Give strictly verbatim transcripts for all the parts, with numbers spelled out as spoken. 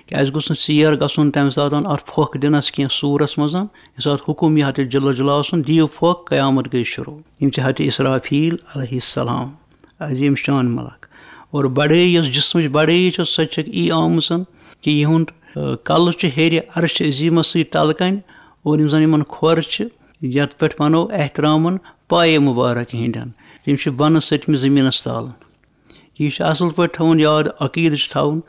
کیٛازِ گوٚژھ نہٕ ژیر گژھُن تَمہِ ساتہٕ اَتھ پھۄکھ دِنَس کینٛہہ صوٗرَس منٛز؟ ییٚمہِ ساتہٕ حُکُم یی حضرت جل جلالہ سُنٛد، دِیِو پھۄکھ، قیامت گٔے شروٗع۔ یِم چھِ حضرت اسرافیل علیہ السلام، عظیٖم شان ملک۔ اور بڑٲیی، یۄس جسمٕچ بڑٲیی چھِ، سۄ تہِ چھکھ یی آمٕژ کہِ یِہُنٛد، آ، کلہٕ چھُ ہیٚرِ عرش عظیٖمس سۭتۍ تلہٕ کنہِ، اور یِم زن یِمن کھۄر چھِ، یتھ پٮ۪ٹھ ونو احترامن پایے مبارک ہٕنٛدٮ۪ن، تِم چھِ بۄنہٕ سٔتمہِ زٔمیٖنس تل۔ یہِ چھُ اصل پٲٹھۍ تھاوُن یاد، عقیدٕ چھُ تھاوُن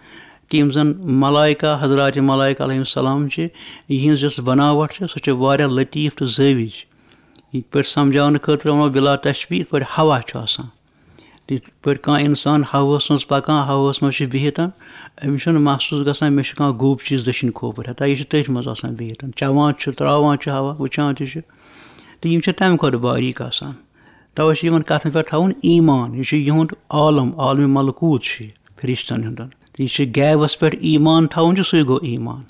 کہِ یِم زن ملائکہ، حضرات ملائکہ علیہم السلام چھِ، یِہنٛز یۄس بناوٹ چھِ، سۄ چھِ واریاہ لطیف تہٕ زٲوِج۔ یِتھ پٲٹھۍ سمجھاونہٕ خٲطرٕ ونو بلا تشبیہ، یِتھ پٲٹھۍ ہوا چھُ آسان۔ تِتھ پٲٹھۍ کانٛہہ اِنسان ہوہَس منٛز پَکان، ہوہَس منٛز چھُ بِہِتھ، أمِس چھُنہٕ محسوٗس گژھان مےٚ چھُ کانٛہہ گوٚب چیٖز دٔچھِنۍ کھووُر ہٮ۪تھ، یہِ چھُ تٔتھۍ منٛز آسان بِہِتھ، چٮ۪وان چھُ، ترٛاوان چھُ ہوا، وٕچھان تہِ چھُ۔ تہٕ یِم چھِ تَمہِ کھۄتہٕ باریٖک آسان۔ تَوَے چھُ یِمَن کَتھَن پٮ۪ٹھ تھاوُن ایٖمان۔ یہِ چھُ یِہُنٛد عالم، عالمِ ملکوٗت چھُ یہِ فرشتن ہُنٛد۔ تہٕ یہِ چھُ غیبَس پٮ۪ٹھ ایٖمان تھاوُن چھُ، سُے گوٚو ایٖمان۔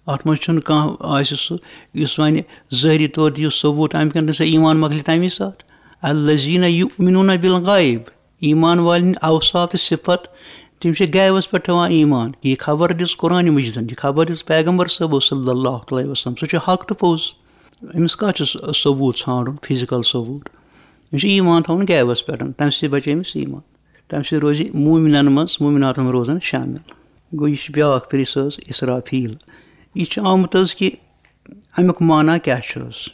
اَتھ منٛز چھُنہٕ کانٛہہ آسہِ سُہ یُس وَنہِ ظٲہری طور دِیِو ثبوٗت اَمہِ کِنۍ، نہ سا ایٖمان مۄکلہِ تَمی ساتہٕ۔ الذین یؤمنون بالغیب، ایٖمان والٮ۪ن اوصاف تہٕ صفت، تِم چھِ غیبَس پٮ۪ٹھ تھاوان ایٖمان۔ یہِ خبر دِژ قرآنِ مجیدن، یہِ خبر دِژ پیغمبر صٲبو صلی اللہ علیہ وسلم، سُہ چھُ حق تہٕ پوٚز۔ أمِس کَتھ چھُ ث-، ثبوٗت ژھانٛڈُن، فزیکل ثبوٗت؟ أمِس چھُ ایٖمان تھاوُن غیبَس پٮ۪ٹھ، تَمہِ سۭتۍ بَچہِ أمِس ایٖمان، تَمہِ سۭتۍ روزِ موٗمِنَن منٛز، موٗمِناتَن منٛز روزان شامِل۔ گوٚو، یہِ چھِ بیٛاکھ پھِرِ سُہ حظ اسرافیل۔ یہِ چھُ آمُت حظ کہِ اَمیُک معنی کیٛاہ چھُ حظ؟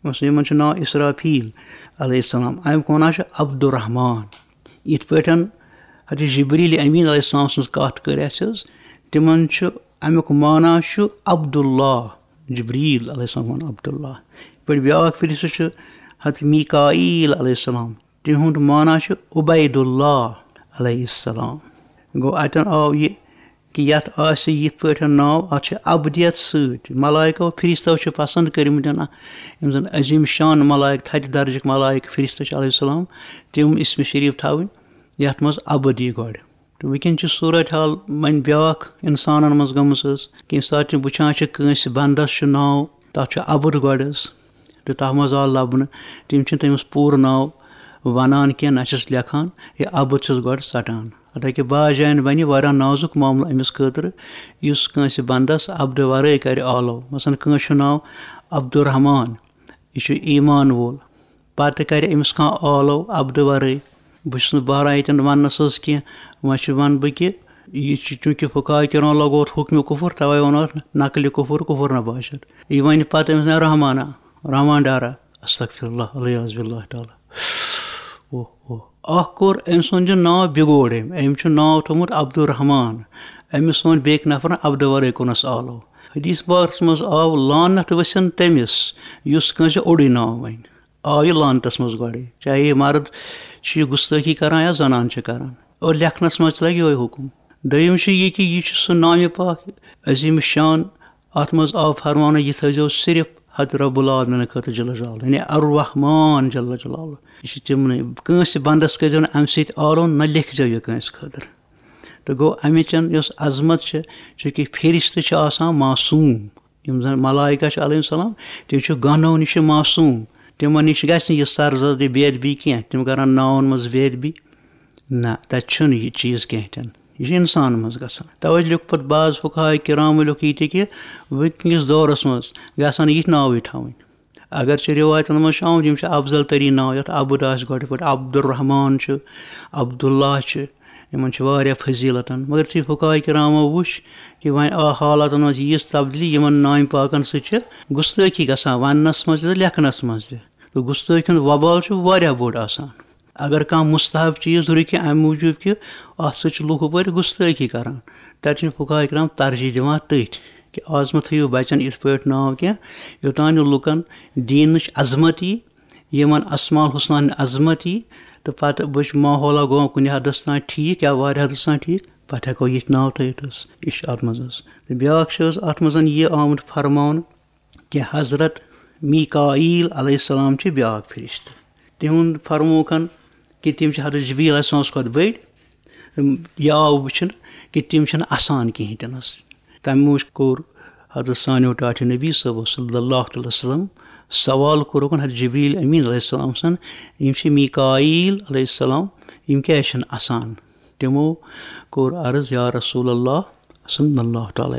مثلاً یِمَن چھُ ناو اسرافیل علیہ السلام، اَمیُک معنی چھُ عبدالرحمان۔ یِتھ پٲٹھۍ حضرت جبریل امین علیہ السلام سٕنٛز کَتھ کٔر اَسہِ حظ، تِمَن چھُ اَمیُک معنی چھُ عبداللہ، جبریل علیہ السلام ووٚن عبداللہ۔ یِتھ پٲٹھۍ بیٛاکھ فرشتہٕ چھُ حضرت میکائیل علیہ السلام، تِہُنٛد معنی چھُ عبید اللہ علیہ السلام۔ گوٚو، اَتٮ۪ن آو یہِ کہِ یَتھ آسہِ یِتھ پٲٹھۍ ناو، اَتھ چھِ عبدیت سۭتۍ۔ ملائکو، فرشتو چھِ پسند کٔرمٕتۍ، یِم زَن عظیٖم شان ملائک، تھدِ درجٕکۍ ملائک فرشتہٕ چھِ علیہ السلام، تِم اسمِ شریٖف تھاوٕنۍ یَتھ منٛز عبد یی گۄڈٕ۔ تہٕ وٕنکٮ۪ن چھِ صوٗرت حال وۄنۍ بیٛاکھ اِنسانَن منٛز گٔمٕژ حظ، کہِ ییٚمہِ ساتہٕ تِم وٕچھان چھِ کٲنٛسہِ بندَس چھُ ناو، تَتھ چھُ عبد گۄڈٕ حظ، تہٕ تَتھ منٛز آو لَبنہٕ، تِم چھِنہٕ تٔمِس پوٗرٕ ناو وَنان کینٛہہ، نہ چھِس لیکھان، یہِ عبد چھِس گۄڈٕ ژَٹان۔ حتیٰ کہِ بعض جایَن بَنہِ واریاہ نازُک معاملہٕ أمِس خٲطرٕ، یُس کٲنٛسہِ بندَس عبدٕ وَرٲے کَرِ آلو۔ مثلاً کٲنٛسہِ چھُ ناو عبدالرحمان، یہِ چھُ ایٖمان وول، پتہٕ کرِ أمِس کانٛہہ آلو عبدٕ ورٲے۔ بہٕ چھُس نہٕ بہران ییٚتٮ۪ن وننس حظ کینٛہہ، وۄنۍ چھُ ونہٕ بہٕ کہِ یہِ چھُ چوٗنٛکہِ فقہاء کرام لگووُتھ حُکمِ کُفر، توے ووٚن اتھ نقلِ کُفر، کُفر نہ باشد۔ یہِ ونہِ پتہٕ أمِس ناو رحمانہ، رحمان ڈارا، استغفر اللہ، العیاذ باللہ تعالیٰ۔ اوہ، اوہ۔ اکھ کوٚر أمۍ سُنٛد یہِ ناو بِگوڑ أمۍ، أمۍ چھُ ناو تھوٚومُت عبدالرحمان، أمِس ووٚن بیٚکۍ نفرن عبدٕ ورٲے کوٚرنس آلو۔ حدیث پاکس منٛز آو لعنت ؤسِن تٔمِس یُس کٲنٛسہِ اوٚڑُے ناو ونہِ۔ آو یہِ لعنتس منٛز گۄڈے، چاہے یہِ مرد چھُ یہِ گُستٲخی کران یا زنان چھِ کران، اور لیکھنس منٛز تہِ لگہِ یِہوٚے حُکم۔ دوٚیِم چھُ یہِ کہِ یہِ چھُ سُہ نامِ پاک عظیٖم شان، اتھ منٛز آو فرماونہٕ یہِ تھٲیزیو صرف حضرت رب العالمین خٲطرٕ جل جلالہ، یعنی الرحمان جل جلالہ۔ یہِ چھُ تِمنٕے، کٲنٛسہِ بندس کٔرۍزیو نہٕ امہِ سۭتۍ آلو، نہ لیکھزیو یہِ کٲنٛسہِ خٲطرٕ۔ تہٕ گوٚو، اَمِچ یۄس عظمت چھِ، چوٗنٛکہِ فرشتہٕ چھِ آسان معصوٗم، یِم زَن ملائکہ چھِ علیہم السلام، تِم چھِ گۄنہو نِش معصوٗم۔ تِمن نِش گژھِ نہٕ یہِ سرزد، یہِ بے ادبی کینٛہہ، تِم کرن ناون منٛز بے ادبی۔ نہ، تَتہِ چھُنہٕ یہِ چیٖز کینٛہہ تہِ نہٕ، یہِ چھُ اِنسان منٛز گژھان۔ توے لیوٚکھ پتہٕ بعض فقہاء کرامو لیوٚکھ یہِ تہِ کہِ وٕنکِکِس دورس منٛز گژھن یِتھۍ ناوٕے تھاوٕنۍ۔ اگرچہِ رِوایتن منٛز چھُ آمُت، یِم چھِ افضل تریٖن ناو، یَتھ عبد آسہِ گۄڈٕ پٲٹھۍ، عبدالرحمان چھُ، عبداللہ چھِ، یِمن چھِ واریاہ فضیلتن۔ مگر یُتھُے فقہاء کرامو وُچھ کہِ وۄنۍ آ حالاتن منٛز ییٖژ تبدیلی، یِمن نامہِ پاکن سۭتۍ چھِ گُستٲخی گژھان وننس منٛز تہِ تہٕ لیکھنس منٛز تہِ۔ تہٕ گُستٲخی ہُنٛد وبال چھُ واریاہ بوٚڑ آسان۔ اگر کانٛہہ مستحب چیٖز رُکہِ اَمہِ موٗجوٗب کہِ اَتھ سۭتۍ چھِ لُکھ ہُپٲرۍ گُستٲخی کران، تَتہِ چھِ فقہاء کرام ترجیح دِوان تٔتھۍ کہِ آز مہ تھٲیِو بَچَن یِتھ پٲٹھۍ ناو کینٛہہ، یوٚتام نہٕ لُکَن دیٖنٕچ عظمت یی، یِمَن اسماء الحسناہَن عظمت یی، تہٕ پَتہٕ وٕچھ ماحولہ گوٚو کُنہِ حدَس تام ٹھیٖک یا واریاہ حدَس تام ٹھیٖک، پَتہٕ ہٮ۪کو یِتھۍ ناو تھٲیِتھ حظ۔ یہِ چھِ اَتھ منٛز حظ۔ تہٕ بیٛاکھ چھِ حظ اَتھ منٛز یہِ آمُت فرماونہٕ، کہ حضرت میکائیل علیہ السلام چھِ بیٛاکھ فرشتہٕ۔ تِہُنٛد فرموکھن کہ تِم چھِ حضرت جبریل علیہ السلامس کھۄتہٕ بٔڑۍ۔ یہِ آو وٕچھنہٕ کہ تِم چھِنہٕ اَسان کِہیٖنۍ تہِ نہٕ حظ۔ تَمہِ موٗجوٗب کوٚر حضرت سانیو ٹاٹھہِ نبی صٲبو صلی اللہ تعالیٰ وسلم سوال کوٚرُکھن حضرت جبریل امین علیہ السلام سن، یِم چھِ میکائیل علیہ السلام، یِم کیٛازِ چھِنہٕ اَسان؟ تِمو کوٚر عرض، یا رسول اللہ صلی اللہ تعالیٰ